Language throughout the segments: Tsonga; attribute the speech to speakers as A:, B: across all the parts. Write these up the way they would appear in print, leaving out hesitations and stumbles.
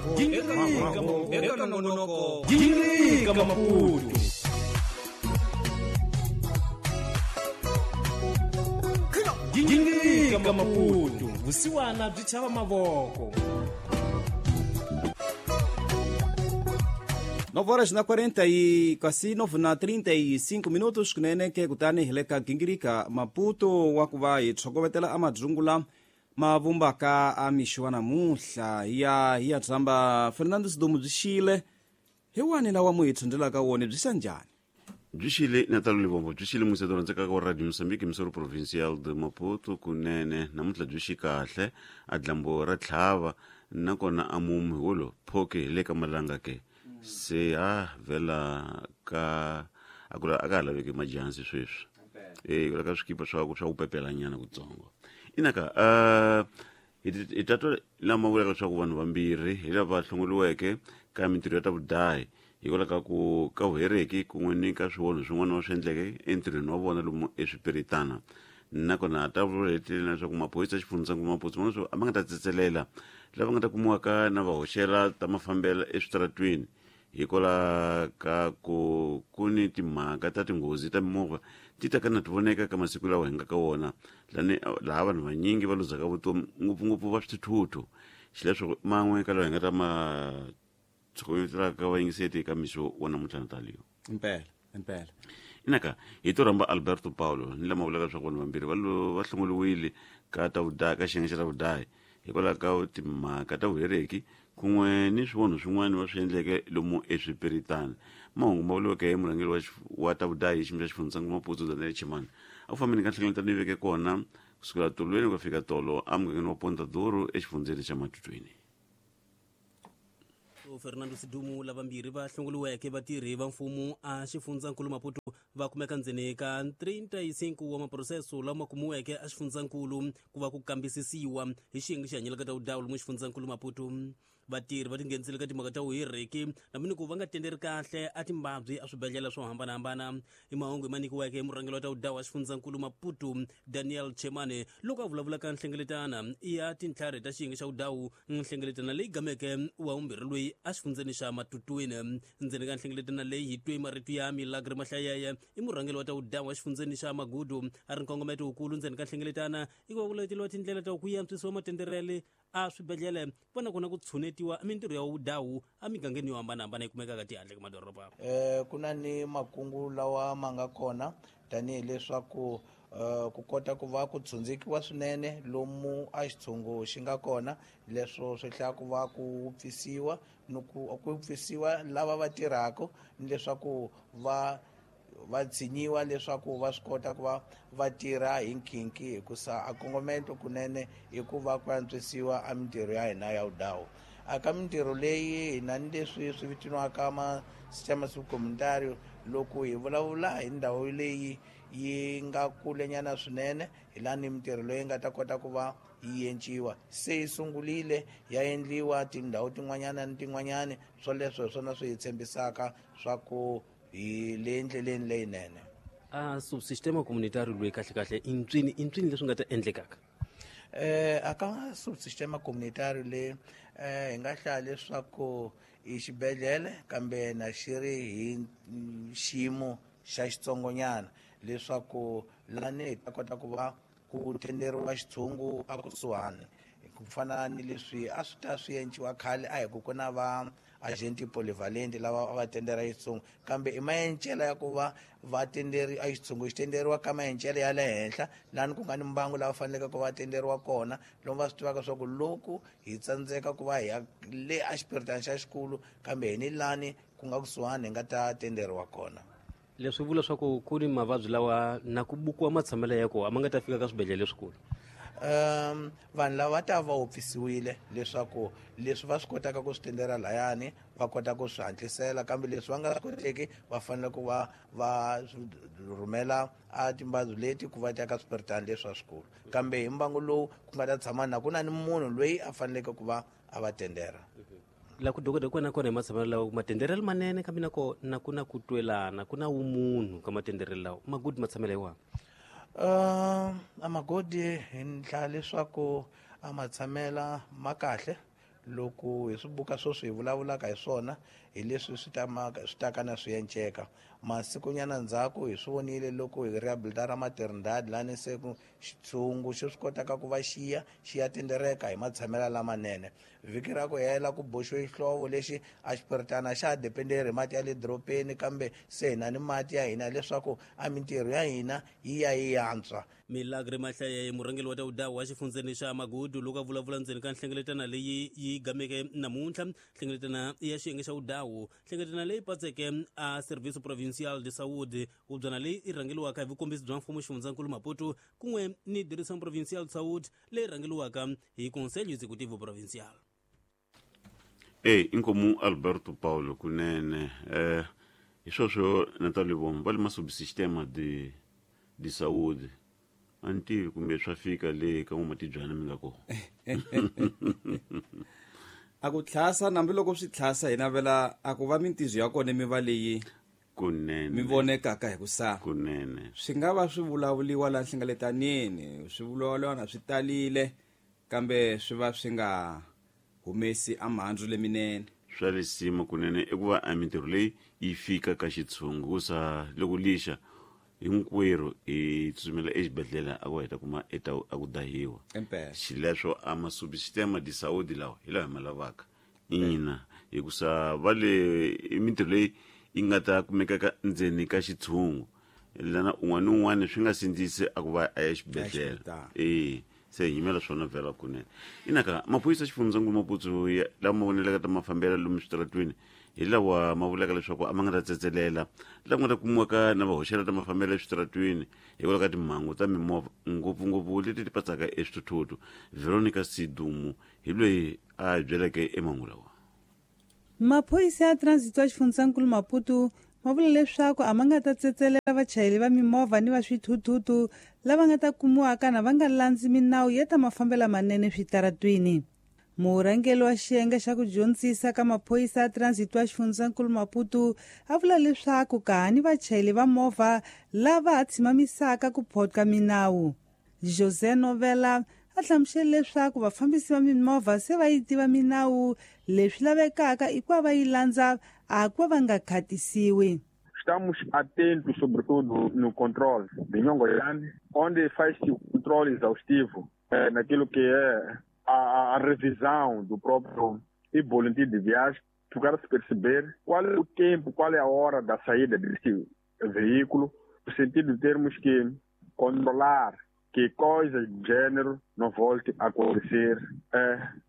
A: Eka nongonoko Gingirika Maputo. Gingirika Maputo, vusiwana byi chava mavoko.
B: 9 horas na 40 e quase 9 na 35 minutos kunene ke kutani hi le ka Gingirika Maputo wa ku va hi tshokovetela a madzungula ma vumbaka a mixo wa namuntlha hi ya hi ya tshamba Fernando Sidumo byi xile hi wani lawa mu hi tshundzelaka wona byi xa njhani?
C: Byi xile Natal Livombo, byi xile museto rhandzekaka wa Radio Mozambique, Missouri Provincial de Maputo. Kunene namuntlha byi xi kahle, a dlambo ra tlhava nakona a mumu hi wolo phoke hi le ka malanga ke se a vhela ka a ku a ka ha laveki majansi sweswi e ku laka swikipa swa ku swa ku pepelanyana kutsongo inaka. Hi ta twa lama vulaka leswaku vanhu vambirhi hi lava hlongoliweke ka mintirho ya ta vudahi hikwalaho ka ku ka vuhereki kun'we ni ka swionho swin'wana va swi endleke entirhweni wa vona lomu eswipiritana. Nakona a ta vula heteleni leswaku maphorisa xifundzankulu Maputo ma leswaku a ma nga ta tsetselela lava nga ta kumiwaka na va hoxela ta mafambelo eswitaratwini, hikwalaho ka ku ku ni timhaka ta tinghozi ta mimovha ti ta ka na ti voneka ka masiku lawa hi nga ka wona lani laha vanhu vanyingi va luzaka vutomi, ngopfungopfu va swithuthuthu. Xileswo man'we ka lawa hi nga ta ma tshokovetelaka vayingiseti eka mixo wa namuntlha, Natalio.
B: Impela, impela.
C: Inaka hi to rhamba Alberto Paulo ni lama vulaka leswaku vanhu vambirhi va va hlongoliwile ka ta vudahi, ka xiyenge xa ta vudahi, hikwalaho ka timhaka ta vuhereki kun'we ni swivonho swin'wana va swi endleke lomu eswipiritana. Mahungu ma vuriweke hi murhangeri wa ta vudahi hi xiyimo xa xifundzankulu Maputo, Daniel Chimani, a ku fambeni ka nhlengeletano yi veke kona kusukela tolweni ku fika tolo emugangeni wa Ponta Duro exifundzeni xa Matutweni.
D: Fernando Sidumu, lavambirhi va hlongoliweke vatirhi va mfumo a xifundzankulu Maputo va kumeka ndzeni ka 35 wa maproseso lama kumiweke a xifundzankulu ku va ku kambisisiwa hi xiyenge xi hanyelaka ta vudawu lomu xifundzankulu Maputo. Vatirhi va tinghenisile ka timhaka ta vuhiriki na ku va nga tenderi kahle a timbabyi a swibedhlele swo hambanahambana. I mahungu ma nyikiweke hi murhangeri wa ta vudawu wa xifundzankulu Maputo, Daniel Chemane, loko a vulavula ka nhlengeletana ya tintlhari ta xiyenge xa vudawu, nhlengeletana leyi gameke wa vumbirhi loyi a xifundzeni xa Matutwini. Ndzeni ka nhlengeletana leyi hi twe marito ya Milagre Mahlayeye, i murhangeri wa ta vudawu wa xifundzeni xa Magudu, a ri nkongometo wukulu ndzeni ka nhlengeletana i ku va ku leteliwa tindlela ta ku antswisiwa matenderele a swibedhlele va na kona ku tshunetiwa mintirho ya vudawu emigangeni yo hambanahambana yi kumekaka tihandle ka madoroba.
E: Ku na ni makungu lawa ma nga kona tanihileswaku ku kota ku va ku tshundzikiwa swinene lomu a xitshungu xi nga kona, leswo swi hlaya ku va ku pfisiwa ni ku pfisiwa lava va tirhaka ni leswaku va tshinyiwa leswaku va swi kota ku va va tirha hi nkhinki, hikusa a kongomento kunene i ku va ku antswisiwa a mintirho ya hina ya vudawu. A ka mintirho leyi hi na ni leswi swi vitaniwaka ma sistema subcomunitario. Loko hi vulavula hi ndhawu leyi yi nga kulenyana swinene, hi laha ni mintirho leyi nga ta kota ku va yi enciwa, se yi sungurile ya endliwa tindhawu tin'wanyana ni tin'wanyana. Swoleswo hi swona swi hi tshembisaka swa ku hi le ndleleni leyinene.
D: A subsistema communitario loyi kahle kahle i ntswini, i ntswini leswi nga ta endlekaka?
E: A ka subsistema communitario le hi nga hlaya leswaku i xibedhlele kambe na xi ri hi xiyimo xa xitsongonyana, leswaku lani hi ta kota ku va ku tenderiwa xitshungu a kusuhani, ku fana ni leswi a swi ta swi enciwa khale. A hi ku ku na va agenti polyvalent lava a va tendera xitshungu, kambe i maencela ya ku va va tenderi a xitshungu xi tenderiwa ka maencele ya le henhla lani ku nga ni mbangu lava faneleke ku va tenderiwa kona, lomu va swi tivaka swa ku loko hi tsandzeka ku va hi ya le a xipiritani xa xikulu, kambe hi ni lani ku nga kusuhani hi nga ta tenderiwa kona.
D: Leswi vula swa ku ku ni mavabyi lawa na ku bukiwa matshamelo ya kona a ma nga ta fika ka swibedhlele leswikulu.
E: Vanhu lava va ta va wopfisiwile leswaku leswi va swi kotaka ku swi tendera layani va kota ku swi hatlisela, kambe leswi va nga swi koteki va fanele ku va va rhumela a timbabyi leti ku va ta ka swipiritani leswi swa swikulu, kambe hi mbangu lowu ku nga ta tshama na ku na ni munhu loyi a faneleke ku va a va tendera.
D: La ku dokodela kona kona hi matshamelo lawa matenderelo manene, kambe na kona ku na ku twelana, ku na vumunhu ka matenderelo lawa magudi matshamelo hi wahi?
E: A magodi hi ndlela leswaku a matshamela ma kahle. Loko hi swibuka sweswi hi vulavulaka hi swona hi leswi swi taka na swi enceka. Masikunyana ndzhaku hi swi vonile loko hi rehabilitara Maternidade lani se ku xitshungu xi swi kotaka ku va xiya xiya tindereka hi matshamelo lamanene. Vhiki ra ku hela ku boxiwe xihlovo lexi a xipiritana xa ha dependeri hi mati ya le dorobeni, kambe se hi na ni mati ya hina leswaku a mintirho ya hina yi ya yi yantswa.
D: Milagre Mahlaye, murhangeri wa tawudawu wa xifundzeni xa Magudu, loko a vulavula ndzeni ka nhlengeletano leyi yi gameke namuntlha, nhlengeletano ya xiyenge xa wudawu, nhlengeletano leyi patseke a Serviço Provincial de Saúde, hubyana leyi yi rhangeriwaka hi vukombisi bya mfumo xifundzankulu Maputo, kun'we ni Direção Provincial de Saúde leyi rhangeriwaka hi Conselho Executivo Provincial.
C: Inkomu Alberto Paulo kunene hi sweswo Natal Livombo va le masubsistema de saúde a ni tivi kumbe swa fika le ka n'wamatibyana mi nga kona.
B: A ku tlhasa nambiloko swi tlhasa hi navela a ku va mintizo ya kona mi va leyi
C: kunene
B: mi vonekaka hi ku sa
C: kunene
B: swi nga va swi vulavuliwa la nhlengeletanini, swi vulavuriwa na swi talile, kambe swi va swi nga humesi a mhandzu leminene.
C: Swa lisima kunene i ku va a mintirho leyi yi fika ka xitshungu kusa loko lixa hinkwerhu hi tsutsumela exibedhlele a ku heta kuma eta a ku dahiwa. Xileswo a masubsistema de saúde lawa hi lawa hi ma lavaka ina, hikusa va le i mintirho leyi yi nga ta kumekaka ndzeni ka xitshungu lana un'wana ni un'wana swi nga sindzisi a ku va a ya exibedhlele. Se hi yimela swona vhela kunene. Inaka maphorisa xifundzankulu Maputo lama ma vonelaka ta mafambelo lomu switaratwini hi lawa ma vulaka leswaku a ma nga ta tsetselela lama nga ta kumiwaka na vahoxela ta mafambelo eswitaratwini hikwalaho ka timhangu ta mimovha ngopfungopfu leti ti patsaka eswithuthuthu. Veronica Sidumu hi loyi a hi byeleke emangu lawa.
F: Maphorisa ya transit wa xifundzankulu Maputo ma vula leswaku a ma nga ta tsetselela vachayeri va mimovha ni va swithuthuthu lava nga ta kumiwaka na va nga landzi minawu ya ta mafambelo manene switaratwini. Murhangeri wa xiyenge xa ku dyondzisa ka maphorisa ya transit wa xifundzankulu Maputo a vula leswaku ka ni vachayeri va movha lava ha tshimamisaka ku photka minawu. José Novela a hlamusele leswaku vafambisi va mimovha se va yi tiva minawu, leswi lavekaka i ku va va yi landza a ku va va nga khatisiwi.
G: Estamos atentos, sobretudo, no controle de Nhongoyane, onde faz-se o controle exaustivo naquilo que é a revisão do próprio boletim de viagem, para se perceber qual é o tempo, qual é a hora da saída desse veículo, no sentido de termos que controlar que coisas do gênero não volte a acontecer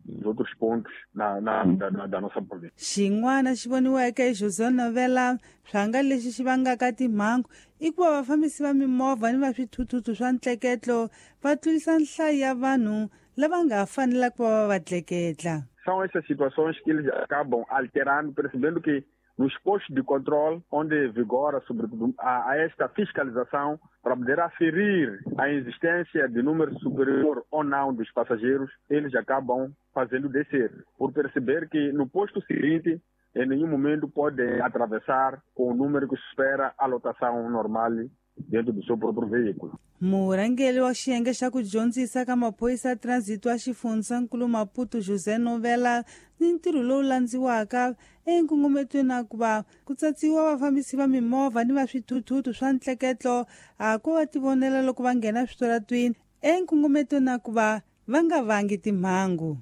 G: nos outros pontos da nossa província.
F: Xin'wana xi voniweke hi José Novela swanga lexi xi vangaka timhangu i ku va vafambisi va mimovha ni va swithuthuthu swa ntleketlo va tlurisa nhlayo ya vanhu lava nga fanelaka ku va va tleketla.
G: São essas situações que eles acabam alterando, percebendo que nos postos de controle, onde vigora, sobretudo, a esta fiscalização, para poder aferir a existência de número superior ou não dos passageiros, eles acabam fazendo descer, por perceber que no posto seguinte, em nenhum momento podem atravessar com o número que supera a lotação normal dentro do seu próprio veículo.
F: Murhangeri wa xiyenge xa ku dyondzisa ka maphorisa ya transit wa xifundzankulu Maputo José Novela ni ntirho lowu landziwaka enkongometweni na ku va ku tsatsiwa vafambisi va mimovha ni va swithuthuthu swa ntleketlo a ku va tivonela loko va nghena switaratwini enkongometweni na ku va va nga vangi timhangu.